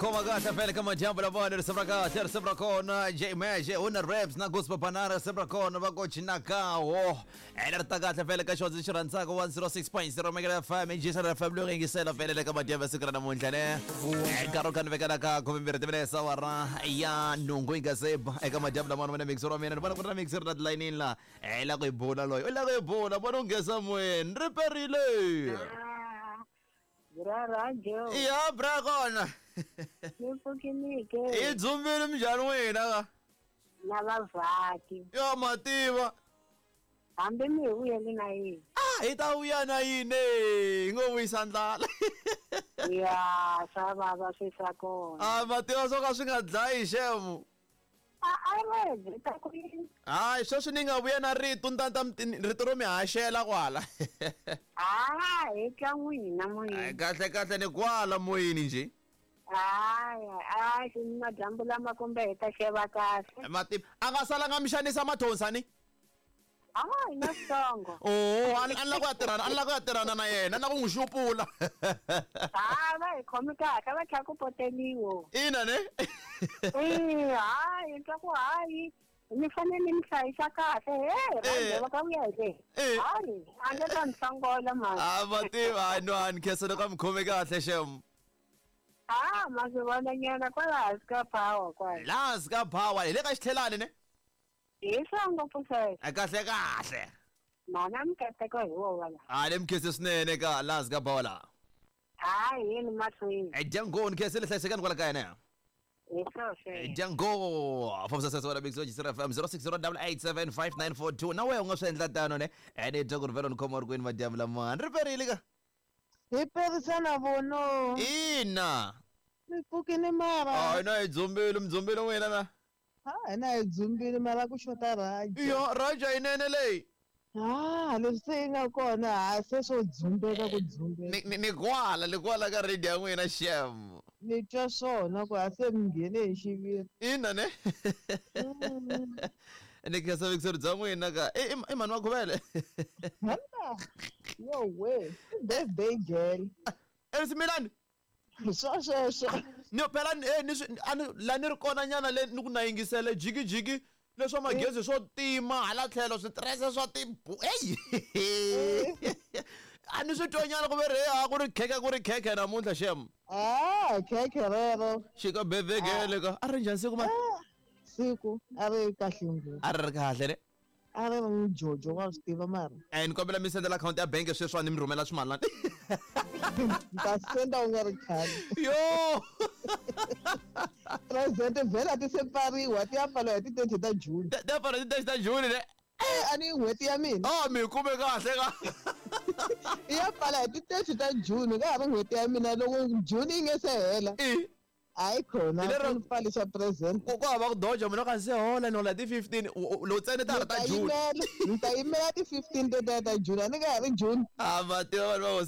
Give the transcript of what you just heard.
Khoma kahle vele ka madyambu lamawani, risimu ra kahle, risimu ra kona J Meje una raps na Gospel Banana, risimu ra kona va ko Chinakawo. Ene ri ta kahle vele ka xona xi rhandzaka 106.0 Mega FM, Jason FM loyi yingisela vele le ka madyambu ya siku ra namuntlha ne. Nkarhi wo kha ni vekela ka 12 timinetse awara ya nhungu yi nga se ba eka madyambu lamawani na mixer wa mina ni vona ku ri na mixer la tilayinini la. I la ku yi bula loyi, u la ku yi bula, vona u nghesa moyeni, ri perile. Bra Radio. Ya bra kona. Ni pfukinike. I dzumbile minjhani n'wina ka? Na vavhaki. Yo mativa. Hambi mi hi vuyeli na yini? Ah, hi ta vuya na yini? Hi ngo vuyisa ndlala. Ya, swa vava swi swa kona. Ah, mativa swo ka swi nga dlayi xemu. A a ri ta ku yini? Hayi, sweswi ni nga vuya na rito ntanta rito ro mi haxela kwala. Ah, hi twa n'wina moyeni. Kahle kahle ni kwala moyeni njhe. Hayi, hayi, xi madyambu lama kumbe hi ta xeva kahle. Mativa a nga salanga mi xanisa mathonsa ni? Hayi, na switsongo. Oh, a ni la ku ya tirhana, a ni la ku ya tirhana na yena, a ni la ku n'wi xupula. Ha, va hi khomi kahle, va tlhela ku poteliwo. Ina ne? Eh, hayi, ni twa ku hayi, mi fanele mi hlayisa kahle. He, rhandze va ka vuya hi le. Hayi, a nge ta ni hlongola mhani. A va tiva, hayi no, a ni khensa loko a mi khome kahle xem. Ha, ma swi vona nyana kwala hansi ka power kwala. Laha hansi ka power, hi le ka xitlhelani ne? Hi swa ngopfu sweswo. A kahle kahle. Mana mikateko hi wona la. A ni mi khense swinene ka laha hansi ka power laha. Hayi yini mahlweni. E dyango ni khensile hlayisekani kwala kaya ne. Hi swo sweswo. Dyango fambisa sese wena Big Soji FM 0608875942 na wehe u nga swi endla tano ne. Ene dya ku ri vhelo ni khoma ri kwini madyambu lamawani. Ri perile ka. Hi perisa na vono. Ina. Mi pfukile mara. Hayi na hi dzumbile, mi dzumbile n'wina na. Ha, hina hi dzumbile mara ku xota Raja. Yo, Raja yinene leyi. Ha, leswi se yi nga kona ha se swo dzumbeka ku dzumbeka. Ni ni kwala, ni kwala ka radio ya n'wina xem. Ni twa swona ku ha se mi nghene hi xiviri. Ina ne. Ni khensa vuyingiseri bya n'wina ka i i mhani wa Khuvele. Hana. Yo we, birthday girl. Elsie Milani. Swa sweswo. Ni phela ni swi a ni la ni ri kona nyana le ni ku na yingisele jiki jiki leswa magezi swo tima hala tlhelo switirese swa tibu eyi a ni swi twa nyana ku ve ri a ku ri khekhe ku ri khekhe namuntlha xem. Ah, khekhe rero. Xika birthday girl ka a ri njhani siku mani? Siku a ri kahle ngopfu. A ri ri kahle ne? A ri ri mjojo wa swi tiva mara. Eh ni kombela mi sendela akhawunti ya bank sweswiwani ni mi rhumela swimalana. Ni ta senda u nga ri khale. Yo! Present vhela ti se pfariwa ti ya pfariwa hi ti 30 ta June. Ti ya pfariwa hi ti 30 ta June ne? Eh a ni n'hweti ya mina. Oh mi kume kahle ka. I ya pfala hi ti 30 ta June ka ha ri n'hweti ya mina loko June yi nge se hela. I Hayi khona Hi lero- ku pfalisa present. Ku hava ku doja munhu a se hola ni hola ti 15 lowu ntsena ta ha ri ta June. Ni ta yimela ti 15 tetiya ta June a ni nga ha ri June. A va tiva vanhu va hosi.